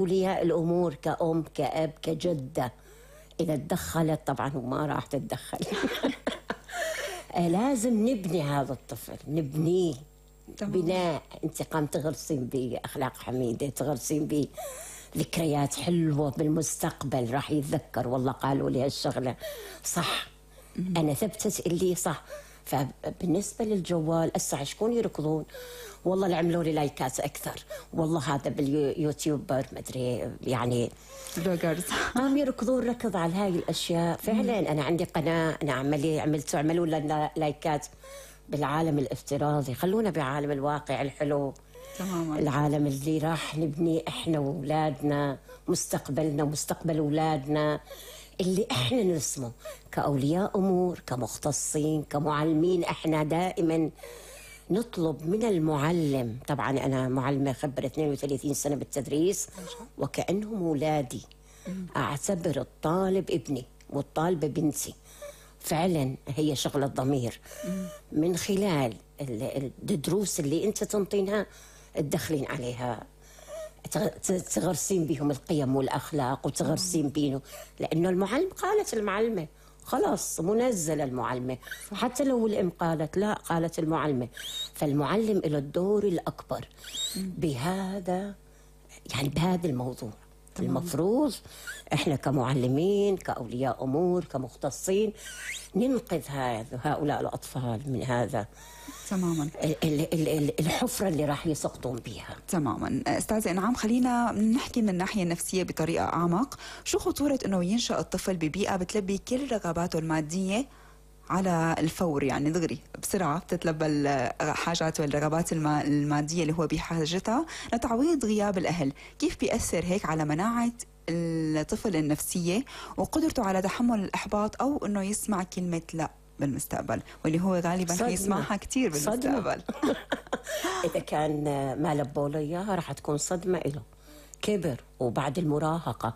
أولياء الأمور كأم كأب كجدة إذا تدخلت طبعا وما راح تتدخل لازم نبني هذا الطفل، نبنيه بناء انتقام، تغرسين به أخلاق حميدة، تغرسين به ذكريات حلوة بالمستقبل، راح يتذكر والله قالوا لي هالشغلة صح، أنا ثبتت اللي صح. فبالنسبة للجوال أسا شكون يركضون والله اللي عملوا لي لايكات أكثر، والله هذا باليوتيوبر مدري يعني بلوجرز قام يركضون ركض على هاي الأشياء. فعلا أنا عندي قناة أنا عملوا لنا لايكات بالعالم الافتراضي، خلونا بعالم الواقع الحلو تماما، العالم اللي راح نبني إحنا وأولادنا، مستقبلنا ومستقبل أولادنا اللي إحنا نرسمه كأولياء أمور كمختصين كمعلمين. إحنا دائما نطلب من المعلم، طبعا أنا معلمة خبرة 32 سنة بالتدريس وكأنهم أولادي، أعتبر الطالب ابني والطالبة بنتي، فعلا هي شغلة ضمير. من خلال الدروس اللي أنت تنطينها تدخلين عليها، تغرسين بهم القيم والأخلاق وتغرسين بينه، لأنه المعلم قالت المعلمة خلاص منزل المعلمة، حتى لو الأم قالت لا قالت المعلمة، فالمعلم له الدور الأكبر بهذا يعني بهذا الموضوع. المفروض إحنا كمعلمين كأولياء أمور كمختصين ننقذ هؤلاء الأطفال من هذا تماما الحفرة اللي راح يسقطون بها. تماما. أستاذة إنعام، خلينا نحكي من الناحية النفسية بطريقة أعمق. شو خطورة أنه ينشأ الطفل ببيئة بتلبي كل رغباته المادية على الفور، يعني دغري بسرعة بتتلبى الحاجات والرغبات المادية اللي هو بحاجتها لتعويض غياب الأهل؟ كيف بيأثر هيك على مناعة الطفل النفسية وقدرته على تحمل الإحباط أو أنه يسمع كلمة لا بالمستقبل، واللي هو غالبا يسمعها كثير بالمستقبل؟ إذا كان ما لبوا له إياها راح تكون صدمة له. كبر وبعد المراهقة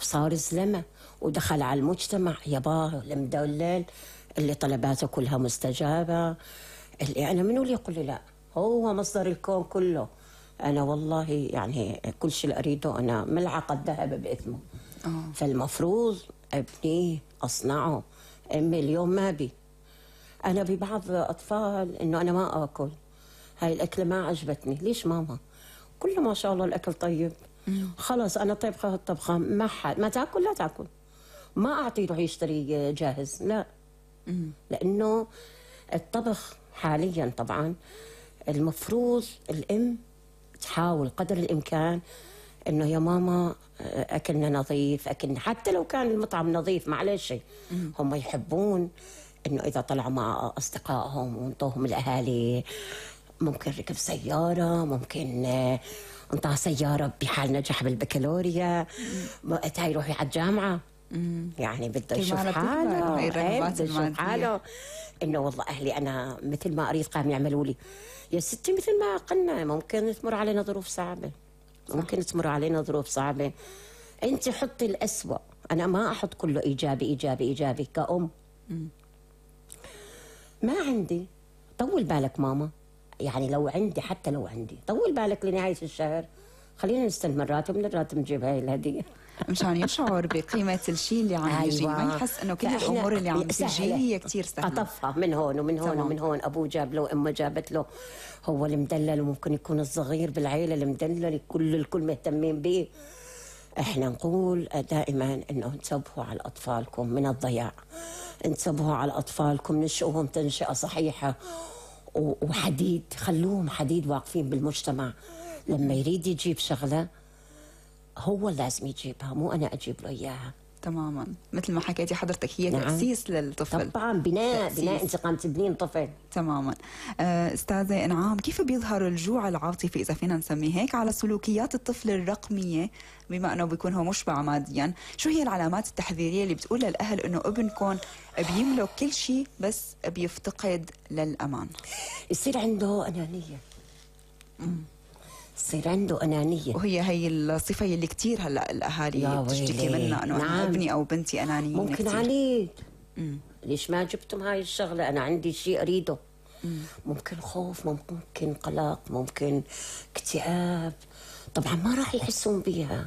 وصار زلمة ودخل على المجتمع، ياباه المدلل اللي طلباته كلها مستجابة، اللي أنا منو اللي يقول لي لا، هو مصدر الكون كله، أنا والله يعني كل شيء اللي أريده أنا ملعقة ذهب بإثمه. فالمفروض أبنيه أصنعه. أمي اليوم ما بي، أنا ببعض أطفال إنه أنا ما أكل هاي الأكلة ما عجبتني، ليش ماما؟ كله ما شاء الله الأكل طيب، خلاص أنا طبخة الطبخة ما تاكل لا تاكل، ما أعطيه يروح يشتري جاهز، لا. لأنه الطبخ حاليا طبعا المفروض الأم تحاول قدر الإمكان إنه يا ماما أكلنا نظيف، أكلنا حتى لو كان المطعم نظيف معلش هم يحبون إنه إذا طلعوا مع أصدقائهم وانطوهم الأهالي ممكن ركب سيارة، ممكن انطاه سيارة بحال نجح بالبكالوريا، وقتها يروح على الجامعة. يعني بده يشوف حاله، بده يشوف حاله إنه والله أهلي أنا مثل ما أريد قام يعملوا لي. يا ستي مثل ما قلنا ممكن تمر علينا ظروف صعبة، ممكن تمر علينا ظروف صعبة، أنت حطي الأسوأ، أنا ما أحط كله إيجابي إيجابي إيجابي كأم. ما عندي طول بالك ماما، يعني لو عندي حتى لو عندي طول بالك لنهاية الشهر، خلينا نستلم الراتب، من الراتب نجيب هاي الهدية مشان يشعر بقيمة الشيء اللي عم يجي، ما يحس انه كل الامور اللي عم تجي هي كثير سهلة. قطفها من هون ومن هون ومن هون، ابوه جاب له وامه جابت له، هو المدلل، وممكن يكون الصغير بالعيلة المدلل الكل مهتمين به. احنا نقول دائما انه انتبهوا على اطفالكم من الضياع، انتبهوا على اطفالكم، نشئوهم تنشئة صحيحة وحديد، خلوهم حديد واقفين بالمجتمع. لما يريد يجيب شغلة هو لازم يجيبها، مو أنا أجيب له إياها. تماما، مثل ما حكيتي حضرتك هي تأسيس للطفل. طبعا بناء أنت قام تبنين طفل. تماما. أستاذة إنعام، كيف بيظهر الجوع العاطفي إذا فينا نسميه هيك على سلوكيات الطفل الرقمية بما أنه بيكون هو مشبع ماديا؟ شو هي العلامات التحذيرية اللي بتقول للأهل أنه ابنكم بيملك كل شيء بس بيفتقد للأمان؟ يصير عنده أنانية. يصير عنده أنانية، وهي هي الصفة اللي كتير هلا الأهالي بتشتكي منها، أنه أنا ابني أو بنتي أنانيين. ممكن كتير. عنيد. ليش ما جبتم هاي الشغلة؟ أنا عندي شيء أريده. ممكن خوف، ممكن قلق، ممكن اكتئاب، طبعا ما راح يحسون بيها.